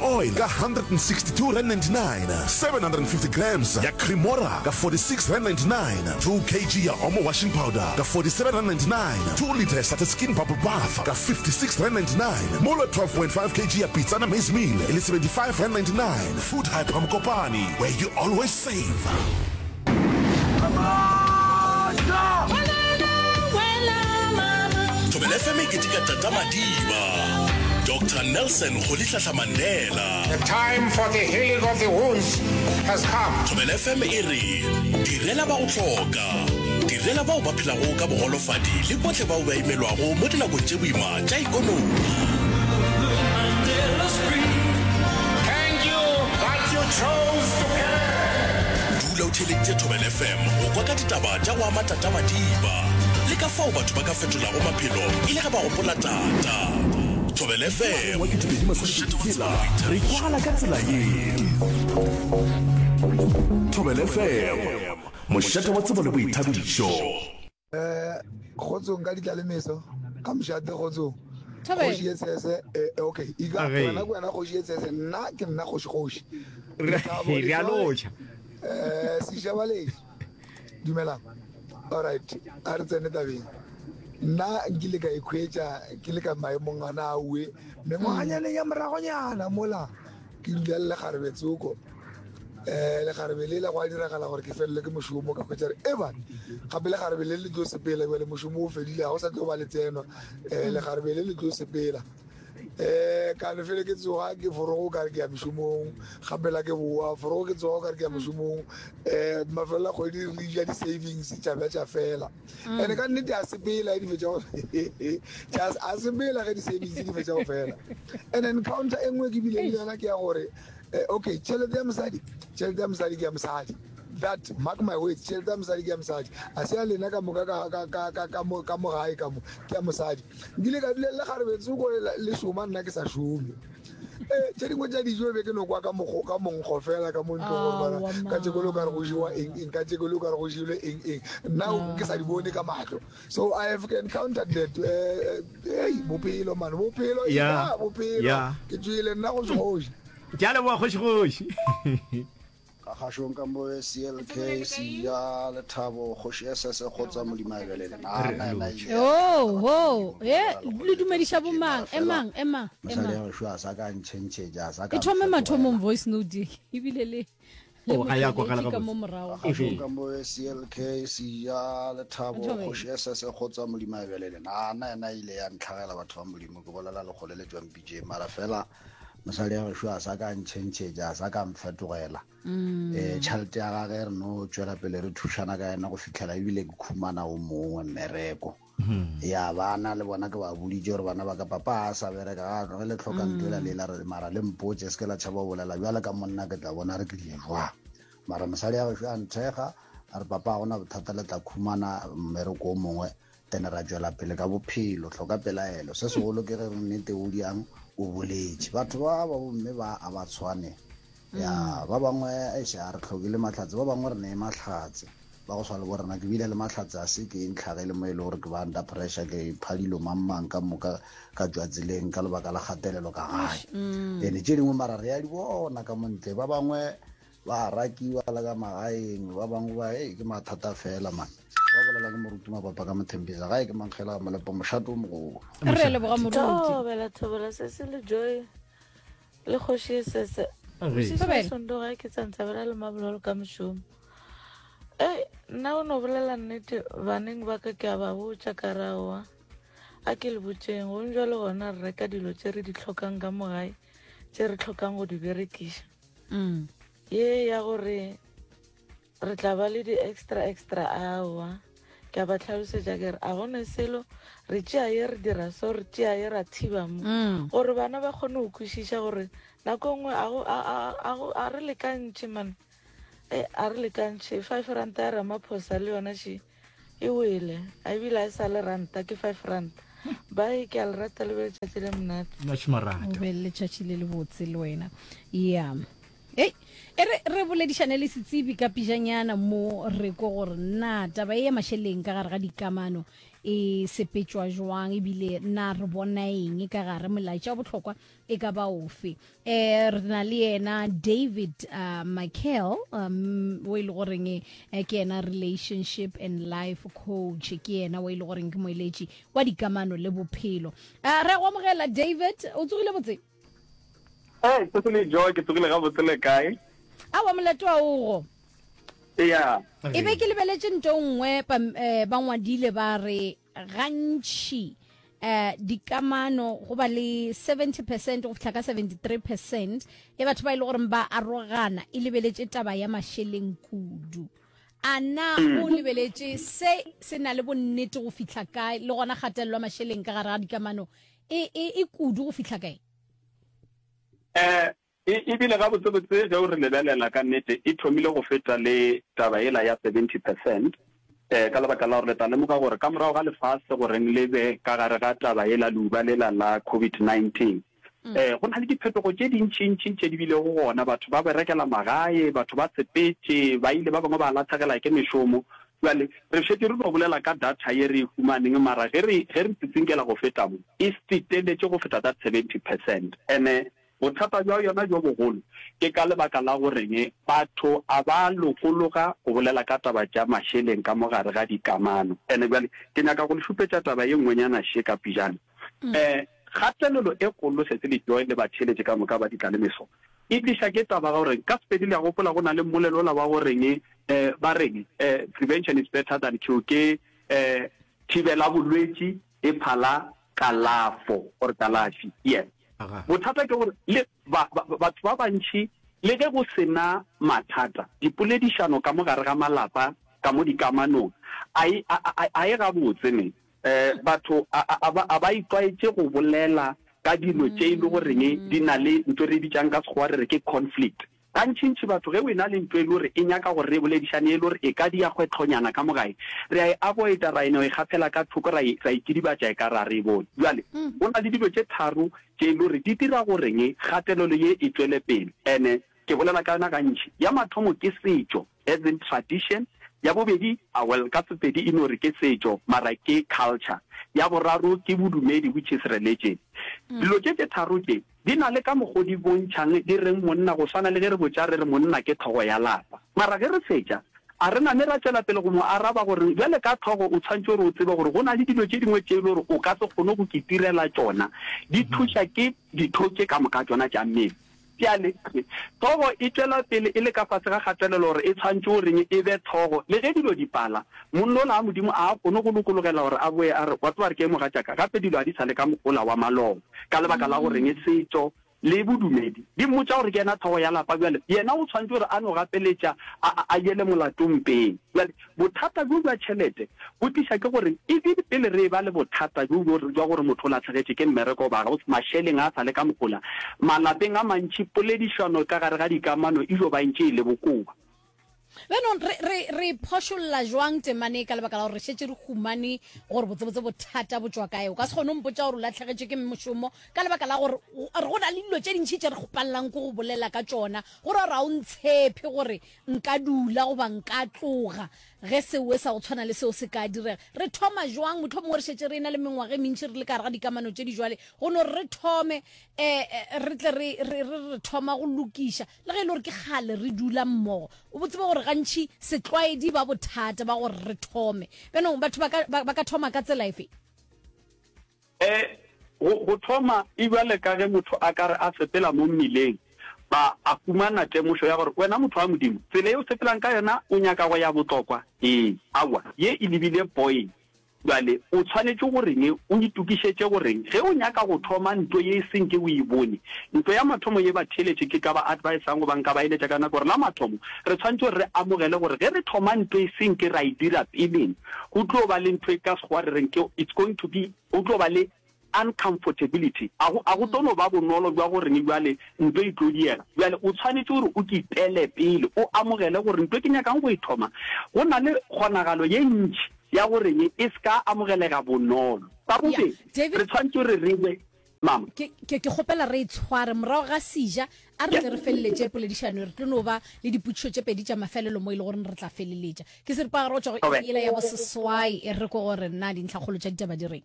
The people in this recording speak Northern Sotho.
oil ka R162.99, 750 grams ya Cremora ka R46.99, 2 kg ya Omo washing powder ka R47.99, 2 litre ya Satin Skin bubble bath ka R56.99, mola 12.5 kg ya Pitsana maize meal e le R75.99. Food Hyper Mokopane, where you always save. Thobela FM e keteka Tata Madiba, Doctor Nelson Rolihlahla Mandela. The time for the healing of the wounds has come. Thobela FM e re direla ba go hloka, direla bao ba phelago ka bogolofadi le bohle bao ba imelwago mo dinakong tše boima tša ikonomi. Thank you that you chose to care. Dula o theeleditše Thobela FM go kwa ka ditaba tša go ama Tata Madiba le ka fao batho ba ka fetolago maphelo e le ge ba gopola Tata. Thobela FM, Wa 2026 re kwagala ka tsela ye. Thobela FM, mošate wa tsebo le boithabišo. Eh, kgotsong ka ditla le meso ka mošate kgotsong Thobela. kgoši ye tshese eh, eh, okay ika Age. wena ke wena kgoši ye tshese nna ke nna kgoši kgoši Re Lethabo, re a Letswale, lotšha. eh sešabaledi dumelang alright a re tsene tabeng nna nkile ka ikhwetša ke le ka maemong ana aue mengwaganyaneng ya moragonyana mola Ke dula le lekgarebe tsoko. Um lekgarebe lela gwa diragala gore ke felelwe ke mošomo ka hwetša re eban gape lekgarebe le le tlo sepela bjale mošomo o fedile ga go sa tlo ba le tseno um lekgarebe le le tlo sepela um ka no fele ke tsoga ke forogo ka re ke ya mešomong gape la ke boa forogo ke tsoga ka re ke ya mošomong um mafelelo a kgwedi re ja di-savings tša ba tša fela and ka nnete a sepela di fetša go a sepela ge di-savings di fetša go fela and encounter e nngwe ke bile le yona ke ya gore eh, okay tšhelete ya mosadi tšhelete ya mosadi ke ya mosadi that mark my words tšhelete ya mosadi ke ya mosadi a se ya lena ka moka ka mo gae ka mo ke ya mosadi nkile ka dula le kgarebetsoko le šoma nna ke sa šome Eh, tše dingwe tša dijo be ke no kwa ka mogo ka monkgo fela ka mo ntlong gore bana Aowa, ka tšeko le o ka re go jewa ma. eng eng ka tšeko le o ka re go jelwe eng eng nna ke sa di bone ka mahlo so i have encountered that eh, eh, hey bophelo man bophelo Ya, ya bophelo ya. ke tšwele nna go kgoši Ke a leboga kgoši kgoši. Ka kgašong ka mo CLK Sia Lethabo Kgoši SS Kgotsa Modimo a ebelele na Re na ena lotšhe. ile ya Oh, ntšhetša ho, batho ba e, Modimo le ba dumediša bolela go bomang? tše mara fela Emang, emang, mosadi emang. ya gešo a sa ka ntšhentšhetša a sa ka E thome mathomong mfetogela voice note ye, ebile le le Oh, ga ya kwagala motheeletši ka mo gabotse. morago. Ka kgašong Ehe. ka mo CLK Sia Lethabo Thobela. Kgoši SS Kgotsa Modimo a ebelele na na ena ile ya ntlhagela batho ba Modimo ke bolela lekgole le tšwang pitšeng mara fela mosadi ya gešo a sa ka ntšhentšhetša a sa ka mfetogela um tšhelete ya gage re no tšwela pele re thušana ka yena go fitlhela ebile ke khumana o mongwe mmereko ya bana le bona ke ba boditše gore bana ba ka papa a sa bereka ga ge le tlhoka ntho ela lela re mara le mpotse se ke la tšhaba go bolela bjale ka monna ke tla bona re ke le jwang mara mosadi ya gešo a nthekga a re papa ga gona bothata le tla khumana mmereko o mongwe Then ra tšwela pele ka bophelo, hloka pelaelo. Se segolo ke ge re nnete o diang o boletše. Batho ba ba bomme ba a ba tshwane. Ya, ba bangwe eish a re hloke le mahlatse, ba bangwe re ne mahlatse. Ba go swana le bo rena, ke bile le mahlatse a se ke ntlhagele mo e le gore ke ba under pressure, ke ipha dilo mang mang ka moka ka tšwa tseleng ka lebaka la kgatelelo ka gae. Ene tše dingwe mara re ya di bona ka mo ntle, ba bangwe ba rakiwa le ka magaeng ba bangwe ba e ke mathata fela man ba bolela ke moruti mabapa ka mothembisa gae ke mankgela molepo mošato o mogolo re leboga moruti thobela thobela se se le joy le kgoši sese sondo ga ke tsantsa bela le mabololo ka mošomo e nna o no bolela nnete baneng ba ka ke a ba botša ka raowa a ke le botšeng gong jalo gona re reka dilo tše re di tlhokang ka mo gae tše re tlhokang go di berekiša mm. ye ya gore re tla ba le di-extra extra aowa ke a ba tlhalosetša ke re a gone selo re tšea ye re dira so re tšea ye ra thiba mo mm. gore bana ba kgone go kwešiša gore nako nngwe a re lekantšhe man e a re lekantšhe five ranta ya ramaphosa le yona še E wele, a ebile a e sa le ranta, ke 5 ranta. Bye, ke a le rata le be letšatši le monate. Much marata. O be le letšatši le lebotse le wena. Ya. Ei, e re re boledišane le setsebi ka pijanyana mo re ko gore na taba e ya mašeleng ka gare ga dikamano. e sepetšwa jwang ebile na re bona eng ka gare molaetša wa bohlokwa e ka ba ofe. Eh, re na le yena David uh, Michael um, o e le goreng eh, ke yena relationship and life coach ke yena o e le goreng ke moeletši wa dikamano le bophelo. Uh, re go amogela David, o tsogile botse? Hey, Cecily Joy, ke tsogile gabotse le kae? Awa molato wa ogo. Yeah. E be ke lebeletše nto nngwe eh, ba ngwadile ba re gantši eh dikamano go ba le 70 percent go fihla ka 73 percent ya batho ba e le goreng ba arogana e lebeletše taba ya mašeleng kudu a na mm. o lebeletše se se na le bonnete go fihla kae le gona kgatelelo ya mašeleng ka gare ga dikamano e, e, e kudu go fihla kae um E, e bile gabotsebotse ge o re lebelela ka nnete e thomile go feta le taba yela ya 70 percent, eh, ka lebaka la gore le tla lemoga gore ka morago ga lefase goreng le be ka gare ga taba yela leuba lela la COVID-19, eh, go na le diphetogo tše dintšintši tše di bilego gona, batho ba berekela magae, batho ba sepetše, ba ile ba bangwe ba lahlegela ke mešomo. Bjale, re šetše re no bolela ka data ye re e humaneng, mara ge re, ge re tsitsinkela go feta mo, e feteletše go feta that 70 percent. Ene Bothata bja yona bjo bogolo ke ka lebaka la goreng batho a ba lokologa go bolela ka taba tša mašeleng ka mo gare ga dikamano. Ene bjale ke nyaka go le šupetša taba ye nngwenyana še ka pejana. Um kgatelelo e kgolo Sesi le Joy le batheeletši ka moka ba ditlalemeso e tliša ke taba ga goreng ka Sepedi le a gopola go na le mmolelo ola wa goreng um ba reng um prevention is better than cure ke um thibela bolwetši e phala kalafo or kalafi. Yes. Bothata ke gore le ba, ba, batho ba bantši le ge go se na mathata, dipoledišano ka mo gare ga malapa, ka mo dikamanong, a e, a, a, a e gabotse ne. Eh, batho a, a, a ba, a ba itlwaetše go bolela ka dilo tše e le goreng di na le ntho e re e bitšang ka Sekgowa re re ke conflict. Gantšintši batho ge o ena le ntho e le gore e nyaka gore re e boledišane e le gore e ka dia kgwetlhonyana ka mo gae, re a e avoida, ra e no e gafela ka thoko, ra e, ra e kidibatša e ka re a re e bone. Bjale, go na le dilo tše tharo tše e le gore di dira goreng kgatelelo ye e tšwele pele, ene ke bolela ka yona gantši. Ya mathomo ke setšo, as in tradition, ya bobedi, ah well, ka Sepedi e no re ke setšo, mara ke culture, ya boraro ke bodumedi, which is religion. Dilo tše tše tharo tše, Di na le ka mokgo di bontšhang di reng monna, go swana le ge re botša re re monna ke hlogo ya lapa. Mara ge re fetša, a re name ra tšwela pele go mo araba gore bjale ka hlogo o tshwanetše gore o tsebe gore go na le dilo tše dingwe tše e le gore o ka se kgone go kitirela tšona, di thuša ke ditho tše ka moka tšona tša mmele. Bjale, hlogo e tšwela pele e le ka fase ga kgatelelo gore e tshwanetše goreng e be hlogo le ge dilo di pala. Monna ola a Modimo a a kgone go lokologela gore a boe a re, Wa tseba re ke mogatšaka, gape dilo ga di sa le ka mokgwa ola wa maloba. Ka lebaka la goreng setšo le bodumedi di mmotša gore ke yena hlogo ya lapa, bjale yena o tshwanetše gore a no gapeletša a, a, a yele molato mpeng. Bjale bothata bjo bja tšhelete bo tliša ke gore even pele re eba le bothata bjo bjo bja gore motho o lahlegetše ke mmereko goba ga o, mašeleng a sa le ka mogola, malapeng a mantši poledišano ka gare ga dikamano e yo ba e ntše e le bokoa. Bjanong re, re, re phošolla jwang temane e ka lebaka la gore re šetše re humane gore botsebotse bothata bo tšwa kae? O ka se kgone go mpotša gore o lahlegetšwe ke mošomo ka lebaka la gore go na le dilo tše dintši tše re kgopalelang ke go bolela ka tšona, go ra gore ga o ntshephe gore nka dula goba nka tloga ge sewe sa go tshwana le seo se ka direga. Re thoma jwang? Mohlomongwe re šetše re e na le mengwaga e mentši re le ka gare ga dikamano tše di jwale, go no re re thome um re tle re, re, re re thoma go lokiša. Le ge e le gore ke kgale re dula mmogo, o tsebe gore gantši setlwaedi ba bothata ba gore re thome. Bjanong batho ba ka, ba, ba ka thoma ka tsela efe? E, go, go thoma e bjale ka ge motho a ka re a sepela mo mmileng, ba a humana temošo ya gore, Wena motho wa Modimo, tsela ye o sepelang ka yona o nyaka go ya Botlokwa? Ee. Aowa, ye e lebile Boyne. Bjale o tshwanetše go reng? O itokišetše go reng ge o nyaka go thoma nto ye e senke o e bone? Nto ya mathomo ye batheeletši ke ka ba advisang goba nka ba eletša ka yona ke gore la mathomo re tshwanetše gore re amogele gore ge re thoma nto e senke ra e dira peleng go tlo ba le ntho e ka sekgowa re reng ke it's going to be go tlo ba le Uncomfortability, a go, a go tlo no ba bonolo bja go reng bjale nto e tlo diega. Bjale o tshwanetše gore o kitele pele, o amogele gore nto ke nyakang go e thoma, go na le kgonagalo ye ntši ya go reng e se ka amogelega bonolo. Sa Yeah, bobedi, David, re tshwanetše gore re be. Mama. Ke, ke, ke kgopela re e tshware morago ga seja, a re tle re feleletše poledišano, re tlo no ba le dipotšišo tše pedi tša mafelelo mo e le gore re tla feleletša. Ke seripagare go tšwa go iri yela ya boseswai, e re ko gore na dintlhakgolo tša ditaba di reng.